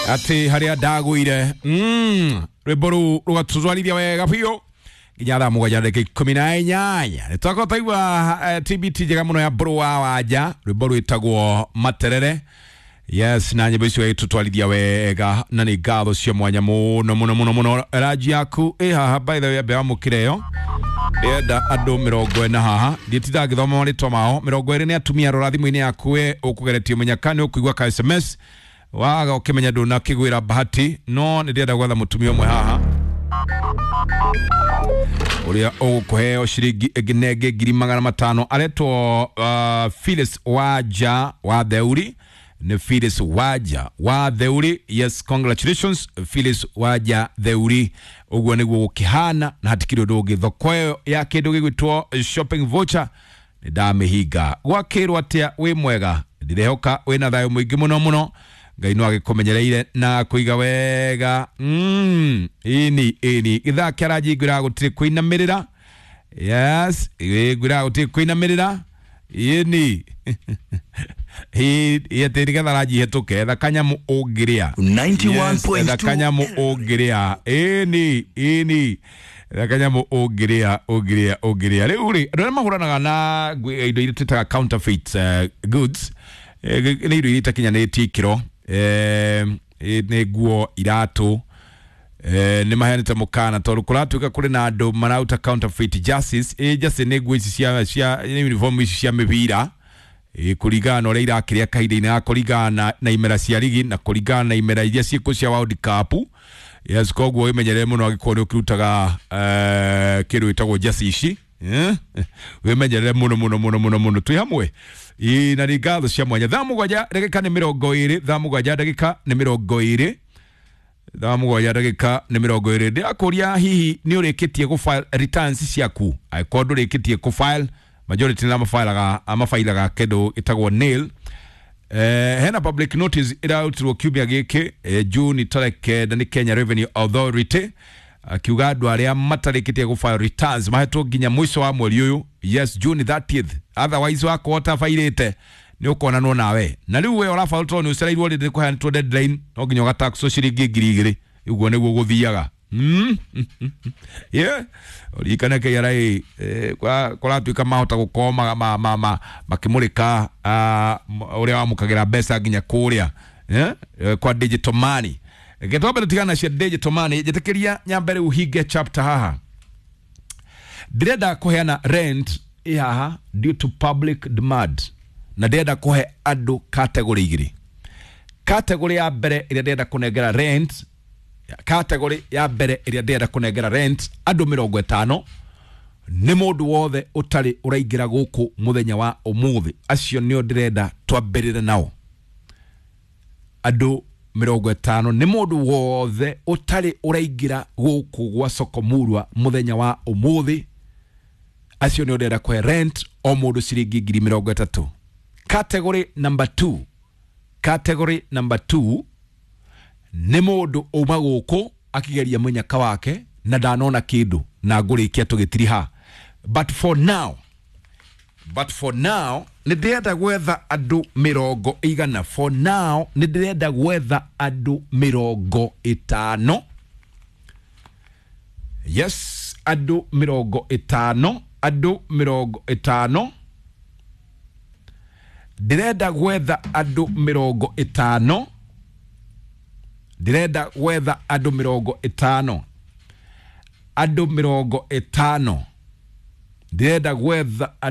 Ati haria ndagũire rwĩmbo rũu rũgatũtwarithia wega biũ nginya thaa mũgwanja ndagĩka 18. Nĩ twakorwo twaigua TBT njega mũno ya Mbũrũ wa Wanja, rwĩmbo rwĩtagwo Materere. Yes, na nyĩmbo icio igĩtũtwarithia wega na nĩ ngatho cia mwanya mũno mũno mũno mũno. Ranji yaku ĩ haha, by the way, ambe wamũkĩre ĩyo. Ndĩrenda andũ 40 haha, ndiĩtindaga ngĩthoma marĩtwa mao. 20 nĩ atumia. Rora thimũ-inĩ yaku we ũkũgeretie mũnyaka nĩ ũkũigua ka SMS waga ũkĩmenya ndũnakĩgwĩra bahati, no nĩ ndĩrenda gwetha mũtumia ũmwe haha ũrĩa ũgũkũheo ciringi ĩngĩ na ĩngĩ 500,000. Aretwo Phyllis Wanja wa Theuri. Nĩ Phyllis Wanja wa Theuri. Yes, congratulations Phyllis Wanja Theuri. Ũguo nĩguo gũkĩhana na hatikĩrĩ ũndũ ũngĩ. Thoko ĩyo ya kĩndũ gĩgwĩtwo shopping voucher nĩ ndamĩhinga. Gwakĩrwo atĩa? Wĩ mwega? Ndirehoka wĩna thayũ mũingĩ mũno mũno. Ngai no agĩkũmenyereire na kũiga wega. Ini ini gĩthaa kĩa ranji ngwĩraga gũtirĩ kũinamĩrĩra. Yes, ngwĩraga gũtirĩ kũinamĩrĩra. Ini atĩ nĩgetha ranji ĩhetũke, etha kanyamũ ũngĩrĩa. 91.2. Etha kanyamũ ũngĩrĩa. Ĩni ĩni, etha kanyamũ ũngĩrĩa ũngĩrĩa ũngĩrĩa. Rĩu rĩ, andũ arĩa mahũranaga na indo iria twĩtaga counterfeit goods, nĩ indo iria itakinyanĩtie ikĩro, nĩ nguo, iratũ, nĩ maheanĩte mũkana tondũ kũratuĩka kũrĩ na andũ marauta counterfeit jerseys. Jersey nĩ nguo ici cia nĩ uniform ici cia mĩbira, kũringana na ũrĩa irakĩrĩa kahinda-inĩ ga kũringana na imera cia rigi na kũringana na imera iria ciĩkuo cia World Cup. Yes, koguo wĩmenyerere mũno angĩkorwo nĩ ũkĩrutaga kĩndũ gĩtagwo jersey ici. Wĩmenyerere mũno mũno mũno mũno mũno. Twĩ hamwe. Ĩ, na nĩ ngatho cia mwanya. Thaa mũgwanja ndagĩka nĩ 20. Thaa mũgwanja ndagĩka nĩ 20. Thaa mũgwanja ndagĩka nĩ 20. Ndĩrakũria, hihi nĩ ũrĩkĩtie gũ file returns ciaku? Angĩkorwo ndũrĩkĩtie kũ file, majority nĩ mabailaga kĩndũ gĩtagwo nil. Hena public notice ĩrarutirwo kiumia gĩkĩ, June tarĩki 9, nĩ Kenya Revenue Authority, akiuga andũ arĩa matarĩkĩtie gũ file returns mahetwo nginya mũico wa mweri ũyũ, yes, June 30th. Otherwise wakorwo ũtabairĩte nĩ ũkonanwo nawe. Na rĩu we ũrabaũ tondũ nĩ ũcereirwo rĩndĩ kũheanĩtwo deadline, no nginya ũgataxwo ciringi 2,000. Ũguo nĩguo gũthiaga. Yeah, ũririkane KRA kũratuĩka mahota gũkorwo makĩmũrĩka ũrĩa wamũkagĩra mbeca nginya kũrĩa, yeah? Kwa digital money. Reke twambe tũtigana cia digital money. Njĩtĩkĩria nyambe rĩu hinge chapter haha. Ndĩrenda kũheana rent ĩ haha due to public demand, na ndĩrenda kũhe andũ category igĩrĩ. Category ya mbere ĩrĩa ndĩrenda kũnengera rent, category ya mbere ĩrĩa ndĩrenda kũnengera rent andũ 50 nĩ mũndũ wothe ũtarĩ ũraingĩra gũkũ mũthenya wa ũmũthĩ. Acio nĩo ndĩrenda twambĩrĩre nao. Andũ 50 nĩ mũndũ wothe ũtarĩ ũraingĩra gũkũ gwa Soko Murwa mũthenya wa ũmũthĩ. Acio nĩo ndĩrenda kũhe rent, o mũndũ ciringi 30,000. Category number 2, category number 2 nĩ mũndũ uma gũkũ akĩgeria mũnyaka wake na ndanona kĩndũ, na ngũrĩkia tũgĩtiriha. But for now nĩ ndĩrenda gwetha andũ 100. For now nĩ ndĩrenda gwetha andũ 50. Yes, andũ 50, andũ 50. Ndĩrenda gwetha andũ 50. Ndĩrenda gwetha andũ 50, andũ 50. Ndĩrenda gwetha.